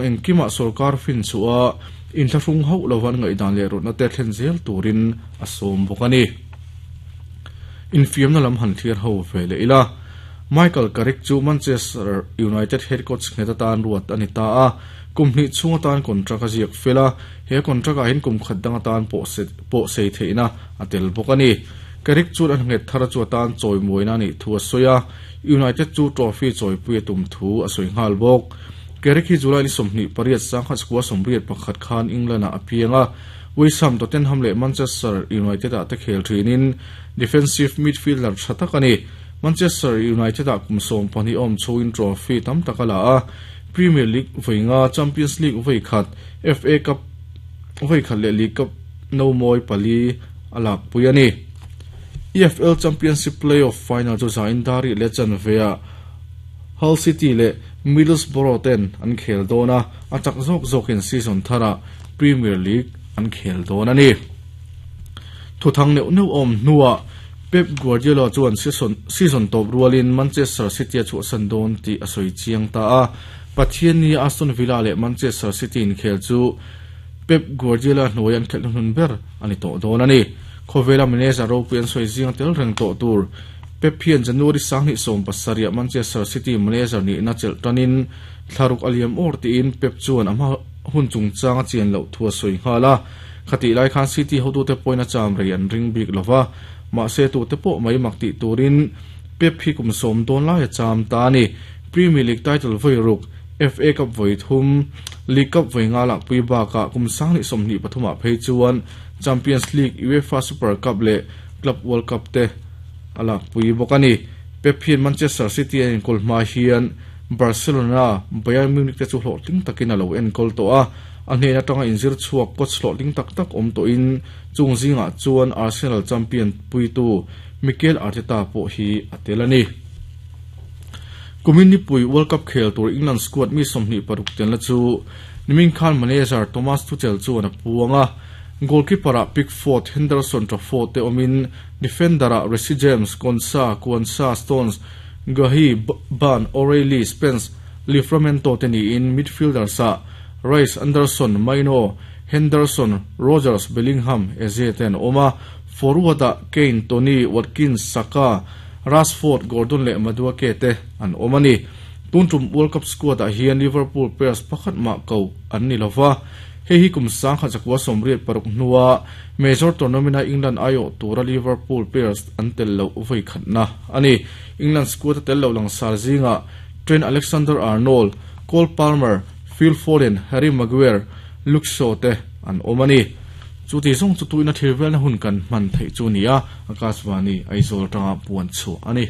Engkimah sorkar fin chhuah a, inthlahrung hauh lova an ngaihdan leh rawtna te thlen zel turin a sawm bawk a ni. Infiamna lam han thlir ho ve leh ila. Michael Carrick chu Manchester United head coach nghet atan ruat a ni ta a, kum hnih chhung atan contract a ziak fel a, he contract ah hian kum khat dang atan pawh sei theihna a tel bawk a ni. Carrick chuan a nghet thar chu atan chawimuaina a nih thu a sawi a, United chu trophy chawipui a tum thu a sawi nghal bawk. Carrick hi July ni 28 sangkhat sukua 81 khan England-ah a piang a, West Ham, Tottenham leh Manchester United-ah te khel thinin defensive midfielder tha tak a ni. Manchester United-ah kum 12 awm chhoin trophy tam tak a la a, Premier League vawi nga, Champions League vawi khat, FA Cup vawi khat leh League Cup no mawi pali a lakpui a ni. EFL Championship play-off final chu zain Dari leh chanveah Hull City leh Middlesbrough ten an khel dawn a, a chak zawk zawkin season tharah Premier League an khel dawn a ni. Thuthang neuh neuh awm hnuah Pep Guardiola chuan season tawp rualin Manchester City a chhuahsan dawn tih a sawi chiang ta a. Pathianni Aston Villa leh Manchester City inkhel chu Pep Guardiola hnuai an khelh hnuhnun ber a ni tawh dawn a ni. Khawvela manager ropui an sawi zing tel reng tawh tur Pep hian January 2017 ah Manchester City manager nihna chelh tanin thlaruk a liam awr tiin Pep chuan a hma hun chungchang a chian loh thu a sawi nghal a. Khatih lai khan City hotute pawhin a cham rei an ring bik lo va, mahse tute pawh mai mak tih turin Pep hi kum sawm dawn lai a cham ta a ni. Premier League title vawi ruk, FA Cup vawi thum, League Cup vawi nga lakpui bakah kum 2023 ah phei chuan Champions League, UEFA Super Cup leh Club World Cup te a lakpui bawk a ni. Pep hian Manchester City a enkawl hma hian Barcelona, Bayern Munich te chu hlawhtling takin a lo enkawl tawh a, a hnen atanga inzir chhuak coach hlawhtling tak tak awm tawhin chung zingah chuan Arsenal champion puitu Mikel Arteta pawh hi a tel a ni. Kumin nipui World Cup khel tur England squad mi 26 telna chu nimin khan manager Thomas Tuchel chuan a puang a, goalkeeper-ah Pickford, Henderson, Trafford te awmin Defender-ah Reece James, Konsa, Quansah, Stones, Guehi, Burn, O'Reilly, Spence, Livramento te niin midfielders-ah Rice, Anderson, Mainoo, Henderson, Rogers, Bellingham, Eze te an awm a, forward-ah Kane, Toney, Watkins, Saka, Rashford, Gordon leh Madueke te an awm a ni. Tun tum World Cup squad-ah hian Liverpool players pakhat mah ko an ni lova, hei hi kum 1986 hnua Major tournament-a England aiawh tura Liverpool players an tel loh vawi khatna a ni. England squad-a tel loh langsar zingah Trent Alexander-Arnold, Cole Palmer, Phil Foden, Harry Maguire, Luke Shaw te an awm a ni. Chuti zawng chu tuina thil velna hun kan hman theih chu a ni a, Akashvani Aizawl atanga puan chhuah a ni.